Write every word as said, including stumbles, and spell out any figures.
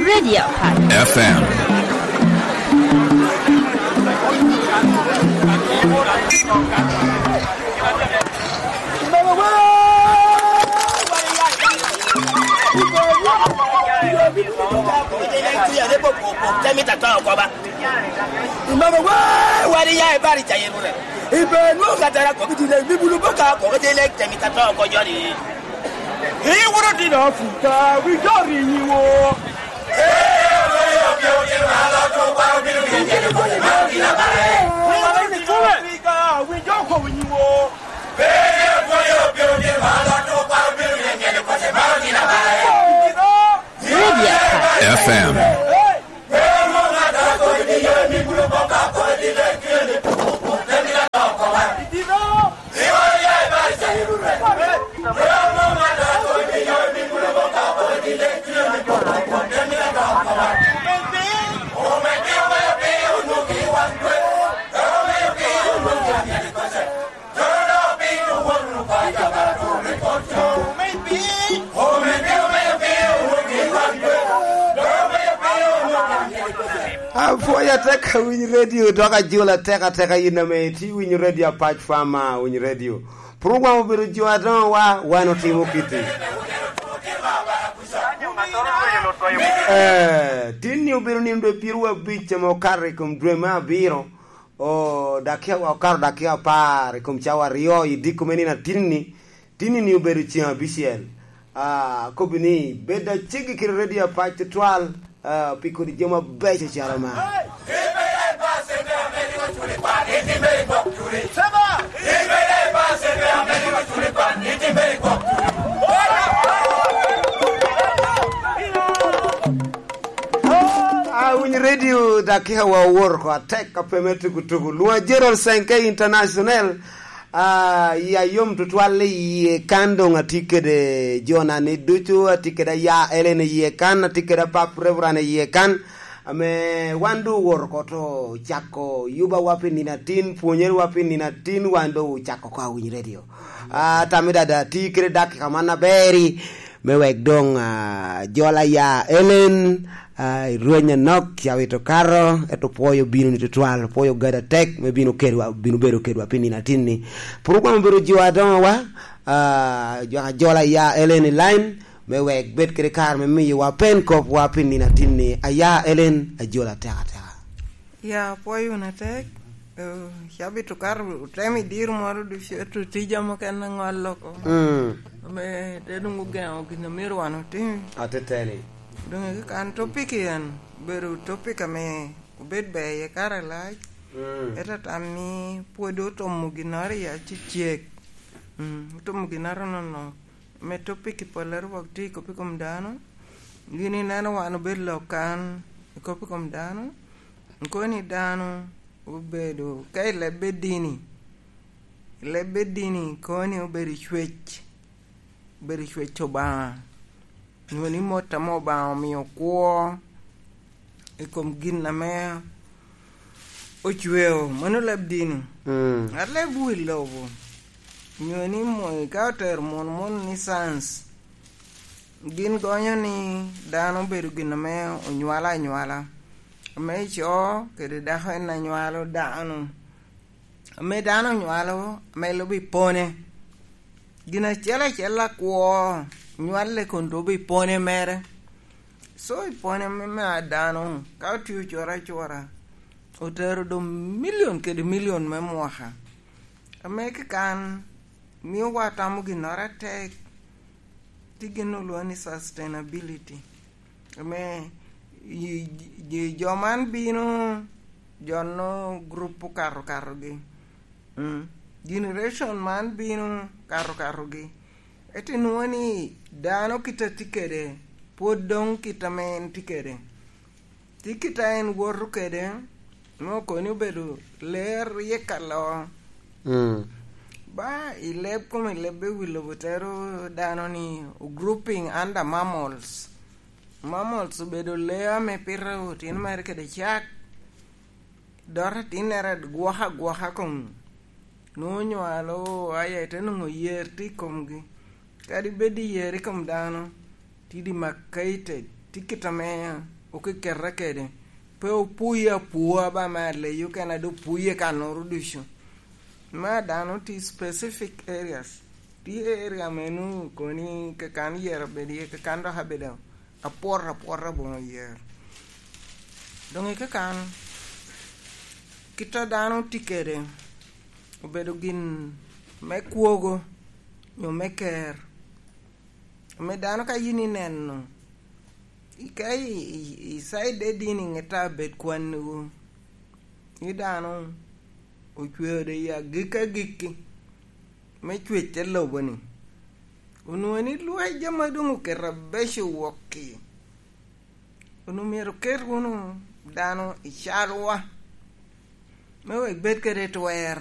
Radio Park. F M. Imamo wa, wari ya e bari ca yerure. Ibe nwo ka tara ko bitile, bibulu boka ko bitile, temi ka to ko jori. Iwuro dino Afrika, wi jori nyiwo. Afrika, wi joko nyiwo. Media. F M. Apwoyo atek awiny redio, dok ajula atek ateka yin ame itye winyo redio Apac Fama, winyo redio. Program obedo jo adoŋo wa, wan otimo kiti. Eh, tinni obedo nino dwe pyeraryo abic ame okato i kom dwe me abiro. O, dakia, okato dakia apar i kom cawa aryo i diko me nino atinni. Tinni-ni obedo ceŋ abicel. Ah, akobbi ni, bed aceggi kede redio Apac tutwal, ah, pi kodi jo mabeco calo man. Ah, winyo redio, dakika wa owoto oko atek, ka pe me tuku tuku. Lwonga Gerald Senke International. Ah, ya yom tutwal i yie kan, doŋ atye kede jona ni ducu, atye kede aya Ellen i yie kan, atye kede apap Reverend i yie kan, ame wan doŋ owoto oko to cako yubawa pi nino atin, pwonyere wa pi nino atin, wan doŋ ocako oko awiny redio. Ah, tammi dada, ti kede dakika man aber-ri, me wek doŋ, ah, jola ya Ellen, ah, i rweny anok, ya wito kato, ento pwoyo bino ni tutwal, pwoyo gada tek, me bino kedwa, bino bedo kedwa pi nino atin-ni. Program obedo jo adoŋowa, ah, jo ajola ya Ellen i line, me wek bed kede kare me miyowa pen kopwa pi nino atin-ni. Aya Ellen, ajola tek ateka. Ya, apwoyo wunu atek. Eh, cabit okato otemo i diro moro ducu, ento tija mukene aŋo aloko. Mm. Ame te doŋ ogeŋo gin a myero wan otim. Ateteni. Doŋ eka kan topic en, obedo topic ame obed ber iye kare alac. Mm. Ento tam ni pwod otomo ginnoro i acecek. Mm, otomo ginnoro nono. Me topic i pollere wok tye i kop i kom dano. Gin ineno wan obedo lok kan i kop i kom dano. Kono ni dano obedo, ka i lebbe dini, i lebbe dini kono ni obedo i cwec, obedo i cwec Obaŋa. Nyo ni mot ame Obaŋa omio kwo i kom gin ame ocweo, mano leb dini. Mm. Aleb wi lobo, nyo ni mo-, ka otero mon, mon ni science, gin gonyo ni dano obedo gin ame onywalo anywala, ame ico kede dako en anywalo dano, ame dano onywalo, ame lubo i pone. Gin acel acel akwo nywale kun lubo i pone mere. So i pone me, me a dano, ka otye ocoro acora, otero doŋ milion kede milion me mwaka. Ame kikan mio wa tamo ginnoro atek, tye gin olwoŋo ni sustainability. Ame i, i, jo man bino, jo no group okato katogi. Mm. Generation man bino kato katogi. Ento inwoŋo ni dano kit a tye kede, pwod doŋ kit ame en tye kede. Tye kit a en woto kede, me okoni obedo ler ryek alo. Mm. Ba i leb kome, leb i wi lobo tero dano ni grouping under mammals. Mammals obedo lee ame pito otino mere kede cak, dot atinnere gwoko agwoka kom Nwoŋo onywalo aya ite nwoŋo yer tye i komgi. Kadi bed i yer i kom dano, tye di makaite, tye kit ame okeketa kede. Pe opuye apua ba me aleyo kena, do puye kanoro ducu. Ma dano tye specific areas. Tye area meno koni kakan yer abedo iye, kakan dok abedo apwot apwota boŋo yer. Doŋ i kakan, kit a dano tye kede, obedo gin me kwogo, nyo me ker. Ame dano ka yin ineno, i-, ka i, i, i side de dini ŋete abed kwanniwu, ni dano ocweo de i agikki agikki me cwec te lobo-ni, onwoŋo ni lwec ame doŋ oketo abeco wok-ki, onwoŋo myero oket wunu dano i calwa, me wek bed kede twer.